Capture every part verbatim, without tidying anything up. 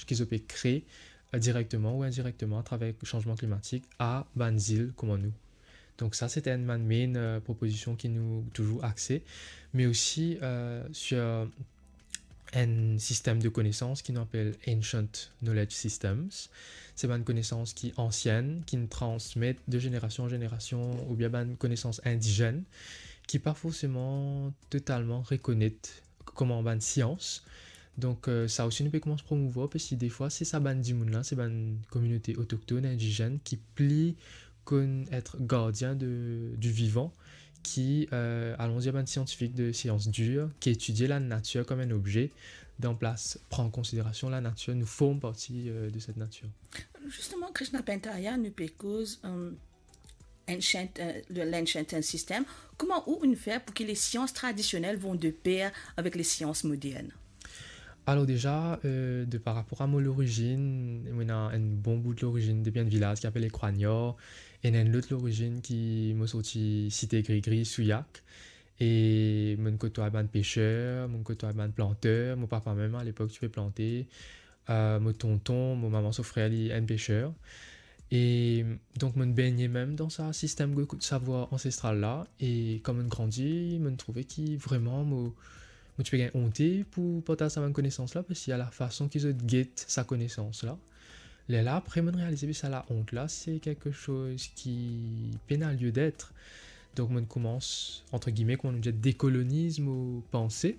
ki zot pe kree, eh, direkteman ou indirekteman atraver sanzman klimatik a bann zil kouma nou. Donk sa, se enn bann main, eh, propozision ki nou touzour axe, me osi, eh, sir enn sistem de konesans ki nou apel Ancient Knowledge Systems. Se bann konesans ki ansien, ki nou transmet de zenerasion an zenerasion, oubien bann konesans indizenn ki pa forseman totalman rekonet kouma bann sians. Donk, eh, sa osi nou pe koumans promouvwar, parski defwa, se sa bann dimoun la, se bann kominote otoktonn, indizenn, ki pli konn et gardien de, du vivan, ki, eh, alon dir bann siantifik de sians dir, ki etidie lanatir kom enn obze, dan plas pran an konsiderasion lanatir, nou form parti, eh, de set natir. Zisteman, Krishna Pantaya, nou pe koz, eh, ancient, eh, le, l'ancient system. Kouma ou inn fer pou ki lesians tradisionel vont de per avek lesians modern? Alor deza, eh, de par rapor a mo lorizinn, mo ena enn bon bout lorizinn depi enn vilaz ki apel Lekrwanyar, ena enn lot lorizinn ki mo sorti Site Grigri, Souillac, e mo'nn kotway bann peser, mo'nn kotway bann planter, mo papa mem alepok ti pe plante, eh, mo tonton, mo mama so frer, li enn peser. E donk, mo'nn begne mem dan sa sistem de savwar ansestral la, e kan mo'nn grandi, mo'nn trouve ki vreman mo, mo ti pe gagn onte pou partaz sa bann konesans la, parski a lafason ki zot get sa konesans la. Lerla apre, mo'nn realize ki sa laont la, se kiksoz ki pena lieu d'être. Donk, mo'nn koumans, antre gilme, kouma nou dir, dekoloniz mo panse,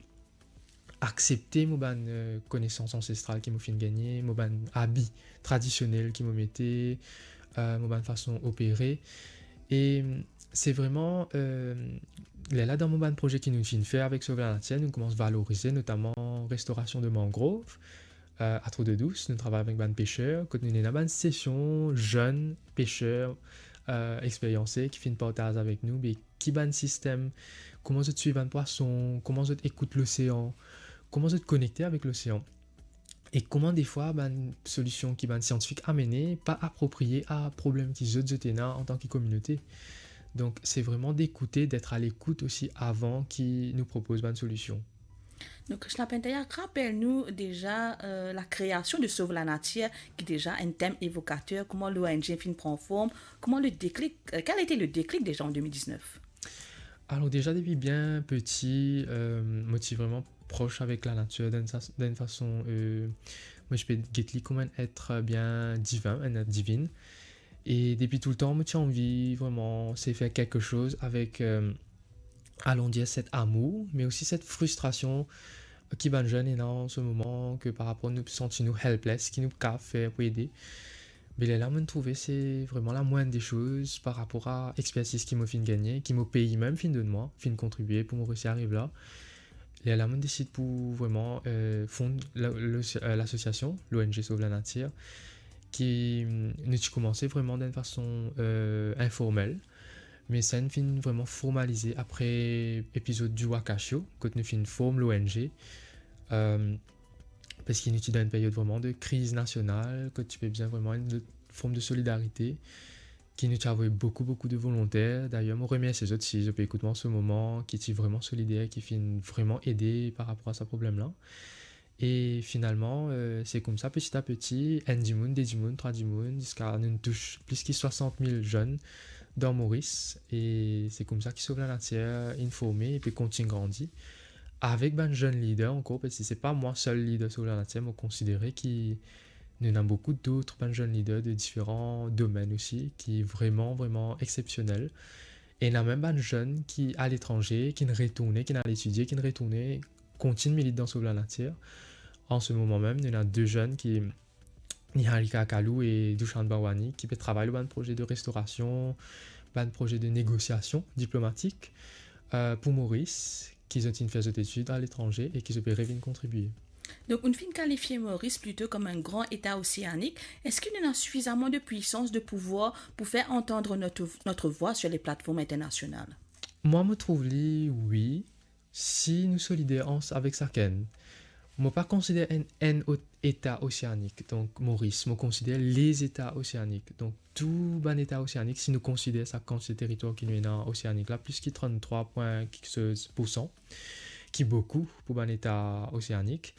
aksepte mo bann, eh, konesans ansestral ki mo finn gagne, mo bann abi tradisionel ki mo mete, eh, mo bann fason opere. E se vreman, eh, lerla dan mo bann proze ki nou finn fer avek Sov Lanatir, nou koumans valorize notaman restorasion de mangrov, eh, a Trou d'Eau Douce, nou travay avek bann peser, kot nou ena bann sesion zenn peser, eh, experyanse ki finn partaz avek nou, be ki bann sistem, kouma zot swiv bann pwason, kouma zot ekout losean, kouma zot konekte avek losean, e kouma defwa bann solision ki bann siantifik amene pa apropriye a problem ki zot, zot ena antan ki kominote. Donk, se vreman dekoute, d'être à l'écoute osi avan ki nou propoz bann solision. Donk, Krishna Pantaya, rapel nou deza, eh, lakreasion de Sov Lanatir, ki deza enn tem evokater, kouma l'O N G finn pran form, kouma le déclic, eh, quel a été le déclic déjà en deux mille dix-neuf? Alor deza, depi bien peti, eh, mo ti vreman pros avek lanatir dan enn sa-, dan enn fason, eh, mo ti pe get li kouma enn et bien divin, enn et divin. E depi toultan, mo ti anvi vreman sey fer kiksoz avek, eh, alon dir, set amour, me osi set fristrasion ki bann zenn ena an se moman, ke par rapor nou santi nou helpless, ki nou kav fer pou ede. Be lerla, mo'nn trouve se vreman lamwinn de soz par rapor a expertiz ki mo finn gagne, ki mo pei mem finn donn mwa, finn kontribie pou mo resi ariv la. Lerla, mo'nn desid pou vreman, eh, fond la, le, eh, lasosiasion, l'O N G Sov Lanatir, ki, mm, nou ti koumanse vreman dan enn fason, eh, informel. Me sa inn finn vreman formalize apre epizod Diwa Kasio, kot nou finn form l'O N G, eh, parski nou ti dan enn period vreman de kriz nasional, kot ti pe bizin vreman enn lot form de solidarite, ki nou ti avoy boukou, boukou de volonter. Dayer, mo remersie zot si zot pe ekout mwa an se moman, ki ti vreman solider, ki finn vreman ede par rapor a sa problem la. E finalman, eh, se koumsa, peti a peti, enn dimoun, de dimoun, trwa dimoun, ziska nou tous plis ki swasant mil zenn dan Moris. E se koumsa ki Sov Lanatir inn forme e pe kontign grandi. Avek bann zenn lider ankor, parski se pa mwa sel lider Sov Lanatir, mo konsidere ki nou ena boukou dot bann zenn lider de diferan domenn osi, ki vreman, vreman exsepsionel. E ena mem bann zenn ki aletranze, ki'nn retourne, ki'nn al etidie, ki'nn retourne, kontign milit dan Sov Lanatir. An se moman mem, nou ena de zenn ki, Niharika Kalu e Dushan Bhawani, ki pe travay lor bann proze de restorasion, bann proze de negosiasion diplomatik, eh, pou Moris, ki zot inn fer zot etid aletranze e ki zot pe revinn kontribie. Donk, ou finn kalifie Moris plito kom enn gran eta oseanik. Eski nou ena sifizaman de pwisans, de pouvwar pou fer antann not, not vwa sir le platform internasional? Mwa, mo trouv li, wi. Si nou solider ans-, avek sakenn, mo pa konsider enn, enn ot-, eta oseanik, donk Moris, mo konsider lezeta oseanik. Donk, tou bann eta oseanik, si nou konsider sa kantite teritwar ki nou ena oseanik la, plis ki tranntrwa pwin kiksoz poursan, ki boukou pou bann eta oseanik.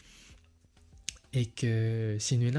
ek, eh, si nou ena